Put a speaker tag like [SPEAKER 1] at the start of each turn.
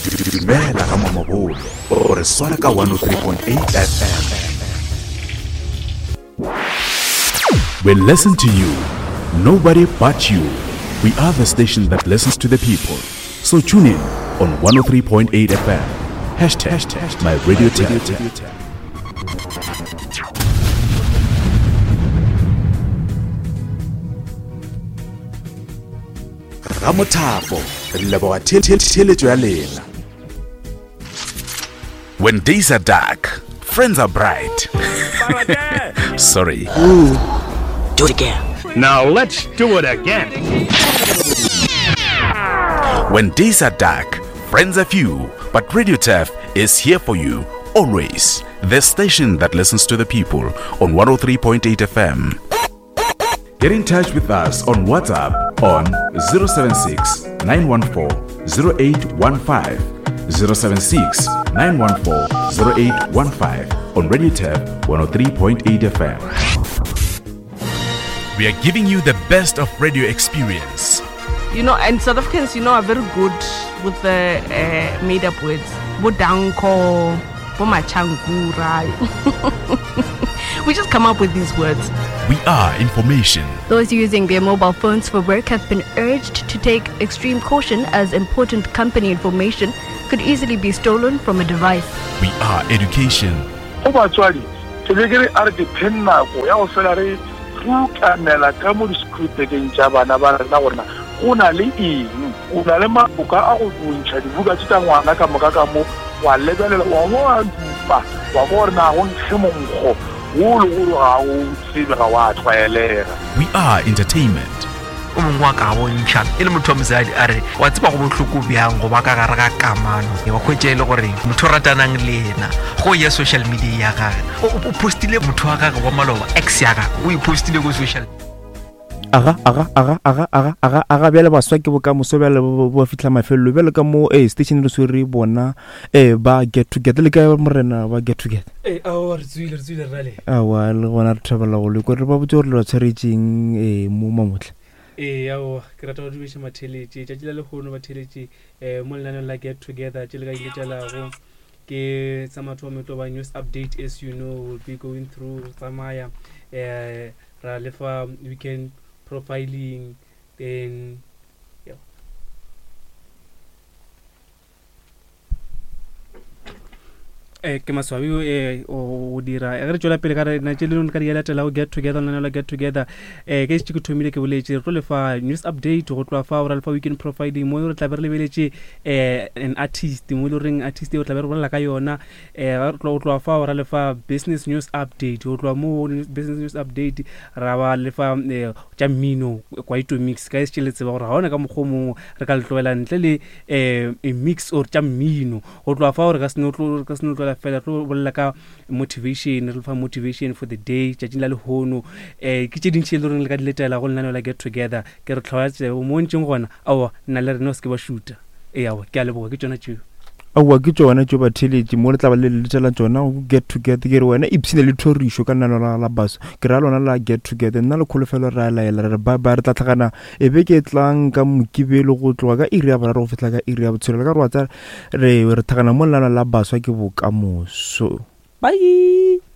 [SPEAKER 1] Dumela ga Mamabolo o re swara ka 103.8 FM. We listen to you, nobody but you. We are the station that listens to the people. So tune in on 103.8 FM. Hashtag my radio tap. Ramothapo re leboga theeletšo ya lena. When days are dark, friends are bright. Sorry.
[SPEAKER 2] Ooh, do it again.
[SPEAKER 3] Now let's do it again.
[SPEAKER 1] When days are dark, friends are few, but Radio Turf is here for you always. The station that listens to the people on 103.8 FM. Get in touch with us on WhatsApp on 076 914 0815. 076 914 0815 on Radio Tab 103.8 FM. We are giving you the best of radio experience.
[SPEAKER 4] You know, and South Africans, you know, are very good with the uh, made up words. Bodanko, Bomachankura. we just come up with these words.
[SPEAKER 1] We are information.
[SPEAKER 5] Those using their mobile phones for work have been urged to take extreme caution as important company information could easily be stolen from a device.
[SPEAKER 1] We are education.
[SPEAKER 6] Go batswadi, ke be ke re a re ke pheng nako ya go fela re rukanela ka mo di-school-bekeng tša bana ba rena gore na go na le eng. O na le maboka a go bontšha dibuka tše tša ngwana ka moka ka mo, wa lebelela, wa bo wa dupa, wa kwa gore na go nkge monkgo wo le gore ga o tsebe, ga wa tlwaelega.
[SPEAKER 1] We are entertainment.
[SPEAKER 7] O mongwe wa ka bontšha e le motho wa mosadi a re wa tseba go bohloko bjang go ba ka gare ga kamano wa hwetša e le gore motho o ratanang le yena go ya social media ya gage o postile motho wa gage wa maloba ex ya gage o e postile ko social
[SPEAKER 8] aga aga aga aga aga aga aga bjale baswa ke bokamoso bjale bo fitlha mafelelo bjale ka mo ee station re swere bona ee ba get together le ka morena ba get together
[SPEAKER 9] ee aowa re tswile re tswile rale
[SPEAKER 8] aowa le gona re thabela go lekwa re ba botse gore le ba tshwaretseng ee mo mamotla
[SPEAKER 9] ee aowa ke rata go dumeša matheletše tšatši la lehono batheletše um mo lenaneong la get together tše le ka iletšelago ke sa mathomo e tlo ba news update as you know will be going through tsamaya um ra lefa weekend profiling then yeah. Eh, ke maswabi eh, o dira eh, ge re tšwela pele ka rena tše leng ka di latelago get together lenaneo la get together um ke šetše ke thomile ke boletše re tlo lefa news update go tloa fa ra lefa weekend profiling mo re tlabe re lebeletše um an artist mo e le goreng artist eo re tlabe re bolela ka yona um go tloa fa ra lefa business news update go tloa mo business news update ra ba lefa um tša mmino kwaito mix ka e šetše le tseba gore ga ona ka mokgwa o mongwe re ka le tlogela ntle le um a mix or tša mmino go tloga fao re ka se no tloela fela tlo bolela ka motivation re fa motivation for the day tšatšing la lehono um ke tše dintšhi e le goreng le ka di letela go lenaneo la get together ke re tlhoya tsebo mo ntšeng gona aowa nna le rena o se ke ba šuta ee aowa ke a leboga ke tšona tšeo
[SPEAKER 8] Aowa ke tšona tšo batheeletši mo le tla ba le letela tšona go get together ke re wena ipshine le thorišo ka nna lona la baso ke ra lona la get together nna le kholofelo re a laela re re bye bye re tla tlhagana e be ke tlang ka mokibelo go tloga ka iri ya boraro go fihla ka iri ya botshelela ka re wa tsa re re tlhagana mo lelana la baswa ke bokamoso
[SPEAKER 9] bye.